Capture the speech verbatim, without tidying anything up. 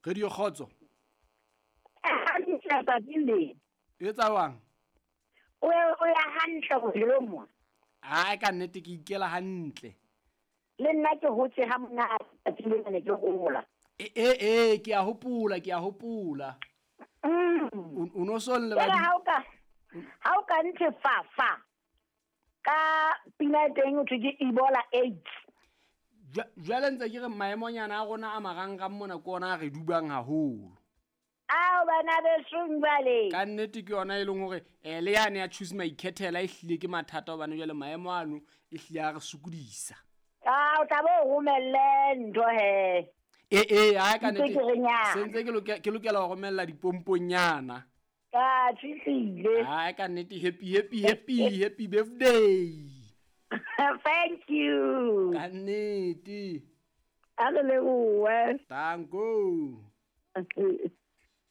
Radio Kgotso. Hantle tsatsing le. E etsa jwang? O o ya hantle bophelong mo. Ai ka nnete ke ikela hantle. Le nna ke hotse ha monate tsatsing lena ne ke hola. E e e ke a hopola, ke a hopola. Mm. O no so le ba. Ha o ka ha o ka ntse fa fa. Ka pina teng o thwe ke Ebola AIDS. Jwale ntse ke re maemonyana a rona a marangrang mona ke ona a re dubang haholo. Ao bana besong jwale. Ka nnete ke yona e leng hore eh le yane ya choose my ikhethela e hlile ke mathata hobane jwale maemo ano e hlile a re sokodisa. Ah o tla bo romelle ntho he. E e ha ka nnete. Se ntse ke lokela ke lokela ho romella dipomponyana. Ka tshwile. Ha ka nnete happy happy happy happy birthday. Thank you. Ka nnete. A re lebohe. Tanko.